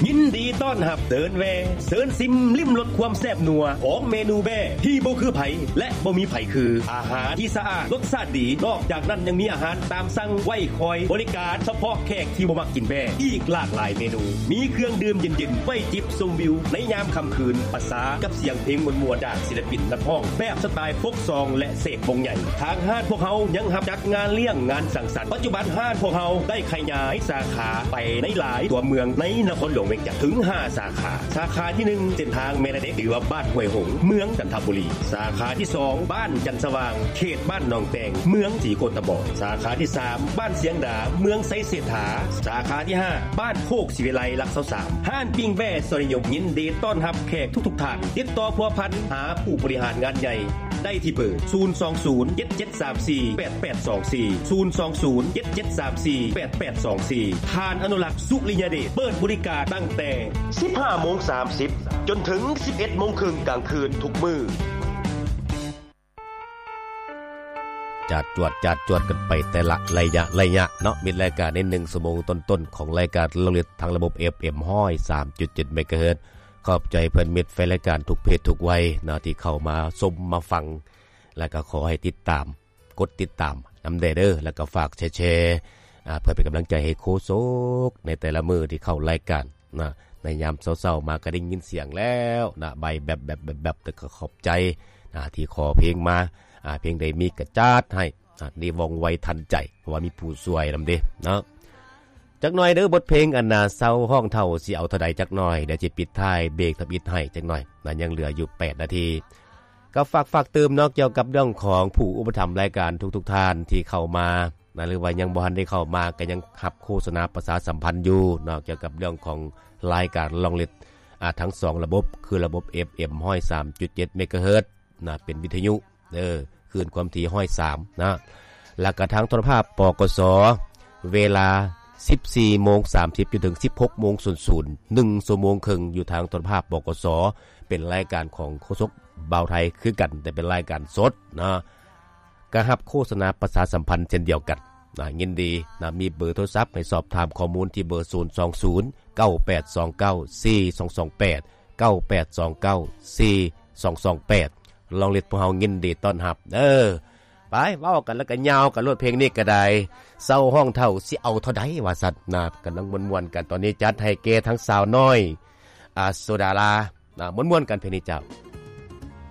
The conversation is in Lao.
ຍິນດີຕ້ອນຮັບ ເຊີນແວ່ ເຊີນຊິມລິມລົດຄວາມແຊບນົວຂອງເມນູແບ້ທີ່ບໍ່ຄືໃຜ ແລະ ບໍ່ມີໃຜຄື. ອາຫານທີ່ສະອາດ ລົດຊາດດີ, ນອກຈາກນັ້ນຍັງມີອາຫານຕາມສັ່ງໄວ້ຄອຍບໍລິການສະເພາະແຂກທີ່ບໍ່ມັກກິນແບ້ ອີກຫຼາກຫຼາຍເມນູ. ມີເຄື່ອງດື່ມເຢັນໆ ໄວ້ຈິບຊົມວິວໃນຍາມຄ່ຳຄືນ ປະສານກັບສຽງເພງມ່ວນໆ ຈາກສິນລະປິນນັກຮ້ອງແບບສະຕາຍໂຟກຊອງ ແລະ ເສກວົງໃຫຍ່. ທາງຮ້ານພວກເຮົາຍັງຮັບຈັດງານລ້ຽງງານສັງສັນ. ປັດຈຸບັນຮ້ານພວກເຮົາໄດ້ຂະຫຍາຍສາຂາໄປໃນຫຼາຍຕົວເມືອງໃນນະຄອນຫຼວງວຽງຈັນເຖິງຫ້າສາຂາ. ສາຂາທີໜຶ່ງ ເສັ້ນທາງແມ່ລະເດັກ ຫຼືວ່າບ້ານຫ້ວຍຫົງ ເມືອງຈັນທະບູລີ. ສາຂາທີສອງ ບ້ານຈັນສະຫວ່າງ ເຂດບ້ານໜອງແຕງ ເມືອງສີໂຄດຕະບອງ. ສາຂາທີສາມ ບ້ານຊຽງດາ ເມືອງໄຊເສດຖາ. ສາຂາທີຫ້າ ບ້ານໂຄກສີວິໄລ ຫຼັກຊາວສາມ. ຮ້ານປີ້ງແບ້ຊອຍນິຍົມ ຍິນດີຕ້ອນຮັບແຂກທຸກໆທ່ານ. ຕິດຕໍ່ພົວພັນຫາຜູ້ບໍລິຫານງານໃຫຍ່ ໄດ້ທີ່ເບີ ສູນສອງສູນ ເຈັດເຈັດສາມສີ່ ແປດແປດສອງສີ່ ສູນສອງສູນ ເຈັດເຈັດສາມສີ່ ແປດແປດສອງສີ່. ທ່ານອະນຸລັກ ສຸລິຍະເດດ ເປີດບໍລິການຕັ້ງແຕ່ສິບຫ້າໂມງສາມສິບ ຈົນເຖິງສິບເອັດໂມງເຄິ່ງກາງຄືນທຸກມື້. ຈາດຈວດ ຈາດຈວດກັນໄປແຕ່ລະໄລຍະ ໄລຍະເນາະ. ມິດລາຍການໃນໜຶ່ງຊົ່ວໂມງຕົ້ນໆ ຂອງລາຍການລາວເລັດ ທາງລະບົບ ເອຟເອັມ ຮ້ອຍສາມຈຸດເຈັດ ເມກາເຮີດ. ຂອບໃຈເພື່ອນມິດແຟນລາຍການທຸກເພດທຸກໄວເນາະ ທີ່ເຂົ້າມາຊົມມາຟັງ ແລະ ກໍຂໍໃຫ້ຕິດຕາມ ກົດຕິດຕາມນຳແດ່ເດີ ແລະ ກໍຝາກແຊ ແຊ ອາ ເພື່ອເປັນກຳລັງໃຈໃຫ້ໂຄສົກໃນແຕ່ລະມື້ທີ່ເຂົ້າລາຍການນະ. ໃນຍາມເຊົ້າໆມາກໍໄດ້ຍິນສຽງແລ້ວນະ ໃບແບັບໆໆ ແລ້ວກໍຂອບໃຈນະ ທີ່ຂໍເພງມາ ອາ ເພງໃດມີກໍຈັດໃຫ້ ອາ ໄດ້ວ່ອງໄວທັນໃຈ ເພາະວ່າມີຜູ້ຊ່ວຍນຳເດ້ເນາະ. ຈັກໜ່ອຍເດີ ບົດເພງອັນນ່າ ເຊົາຮ້ອງເຖົ້າຊິເອົາເທົ່າໃດ ຈັກໜ່ອຍ ດຽວຊິປິດທ້າຍເບຣກທຳອິດໃຫ້ຈັກໜ່ອຍນະ ຍັງເຫຼືອຢູ່ແປດນາທີ. ກໍຝາກ ຝາກຕື່ມເນາະ ກ່ຽວກັບເລື່ອງຂອງຜູ້ອຸປະຖຳລາຍການທຸກໆທ່ານທີ່ເຂົ້າມານະ ຫຼືວ່າຍັງບໍ່ທັນໄດ້ເຂົ້າມາ ກໍຍັງຮັບໂຄສະນາປະຊາສຳພັນຢູ່ເນາະ ກ່ຽວກັບເລື່ອງຂອງລາຍການລາວເລັດ ອາ ທັງສອງລະບົບ ຄືລະບົບ ເອຟເອັມ ຮ້ອຍສາມຈຸດເຈັດ ເມກາເຮີດ ນະ ເປັນວິທະຍຸເດີ ຄື້ນຄວາມຖີ່ຮ້ອຍສາມນະ ແລ້ວກະທາງໂທລະພາບ ປກສ ເວລາສິບສີ່ໂມງສາມສິບ ຈົນເຖິງສິບຫົກໂມງສູນສູນ ໜຶ່ງຊົ່ວໂມງເຄິ່ງ ຢູ່ທາງໂທລະພາບ ປກສ ເປັນລາຍການຂອງໂຄສົກບ່າວໄທຄືກັນ ແຕ່ເປັນລາຍການສົດນະ ກະຮັບໂຄສະນາປະຊາສຳພັນເຊັ່ນດຽວກັນນະ ຍິນດີນະ ມີເບີໂທລະສັບໃຫ້ສອບຖາມຂໍ້ມູນທີ່ເບີ ສູນສອງສູນ ເກົ້າແປດສອງເກົ້າ ສີ່ສອງສອງແປດ ເກົ້າແປດສອງເກົ້າ ສີ່ສອງສອງແປດ ລາວເລັດ ພວກເຮົາຍິນດີຕ້ອນຮັບເດີ. ໄປ ເວົ້າກັນແລ້ວກໍຍາວກັນໂລດ ເພງນີ້ກໍໄດ້ ເຊົາຮ້ອງເຖົ້າຊິເອົາເທົ່າໃດ ວ່າຊັ້ນນະ ກຳລັງມ່ວນໆກັນ. ຕອນນີ້ຈັດໃຫ້ແກ່ທັງສາວນ້ອຍ ອາ ໂສດາລານະ ມ່ວນໆກັນເພງນີ້ເຈົ້າ.